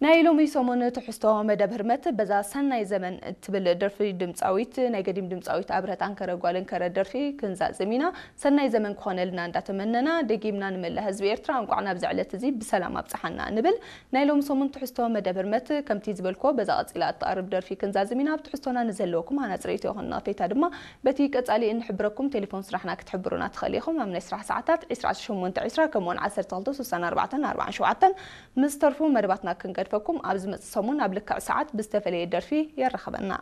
ናይ ሎሚ ሰሙን ትሕዝቶ መደብ ህርመት በዛ ሰናይ ዘመን እትብል ደርፊ ድምፃዊት ናይ ገዲም ድምፃዊት ኣብረህት ኣንከረ ጓል እንከረ ደርፊ ክንዛዝም ኢና። ሰናይ ዘመን ክኾነልና እንዳተመነና ደጊምና ንመላእ ህዝቢ ኤርትራ እንቋዕ ናብዚ ዕለት እዚ ብሰላም ኣብፀሓና ንብል። ናይ ሎሚ ሰሙን ትሕዝቶ መደብ ህርመት ከምቲ ዝበልኮ በዛ ቀፂላ እትቐርብ ደርፊ ክንዛዝም ኢና። ኣብ ትሕዝቶና ንዘለወኩም ሃናፂ ርእይቶ ይኹን ነቐፌታ ድማ በቲ ቀፃሊ እንሕብረኩም ቴሌፎን ስራሕና ክትሕብሩና ትኽእል ኢኹም። ኣብ ናይ ስራሕ ሰዓታት ዕስራ ሸሞንተ ዕስራ ከምኡውን ዓሰርተ ክልተ ስሳን ኣርባዕተን ኣርባዓን ሸውዓተን ምስ ተርፉ መደባትና ክንገድፈኩም ኣብ ዝመጽእ ሰሙን ኣብ ልክዕ ሰዓት ብዝተፈለየ ደርፊ የራኽበና።